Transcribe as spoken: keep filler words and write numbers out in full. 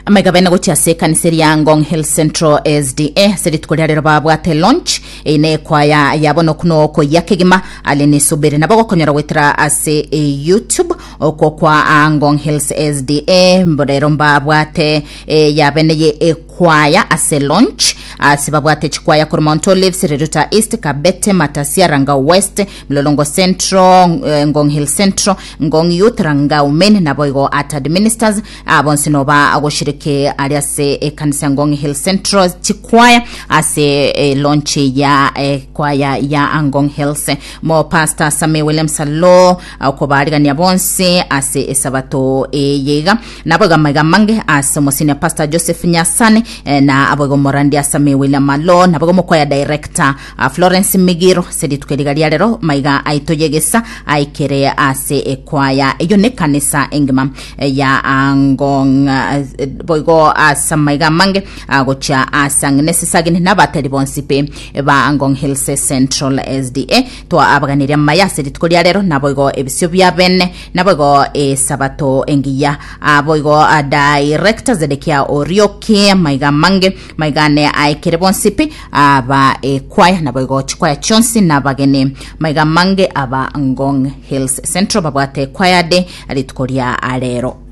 Amaiga bene gochia ase ekanisa eria Ngong Hill Central S D A ase rituko ria rero babwate launch eye ekwaya yabo nokuno okoyia kegima ale nisubiri nabo gokonyora gwetera ase e YouTube okwo kwa ah, Ngong Hills S D A. Rero mbabwate eh, yabene ye ekwaya ase launch ase babwate chikwaya korwa Mount Olives, Riruta East, Kabete, Matasia, Rangau West, Mlolongo Central, eh, Ngong Hill Central, Ngong Youth, Rangau Men naboigo Atad Ministers bonsi noba agoshiriki ari ase ekanisa Ngong Hill Central chikwaya ase eh, launch ya eh, kwaya ya Ngong Hills mo Pastor Sami William Salo okobarigania bonsi ase esabato eyeiga naboigo maiga mange ase omosenior Pastor Joseph Nyasane eh, na aboigo morandia Sami William Malo naboigo mokwaya director uh, Florence Migiro ase rituko eriga ria rero maiga aito yegesa aikere ase ekwaya eyo ne kanisa engima eh, ya Ngong eh, boigo ase maiga mange gocha ase Agnes Sagini nabateri bonsi pe ba Ngong Hills Central S D A twa abaganiria maya ase rituko ria rero naboigo ebisio bia bene naboigo esabato engiya aboigo ah, director Zedekia Orioki maiga mange maigane aikere bonsi pi aba ekwaya naboigo chikwaya chionsi nabageni maiga mange aba Ngong Hills Central babwate kwaya de rituko ria rero.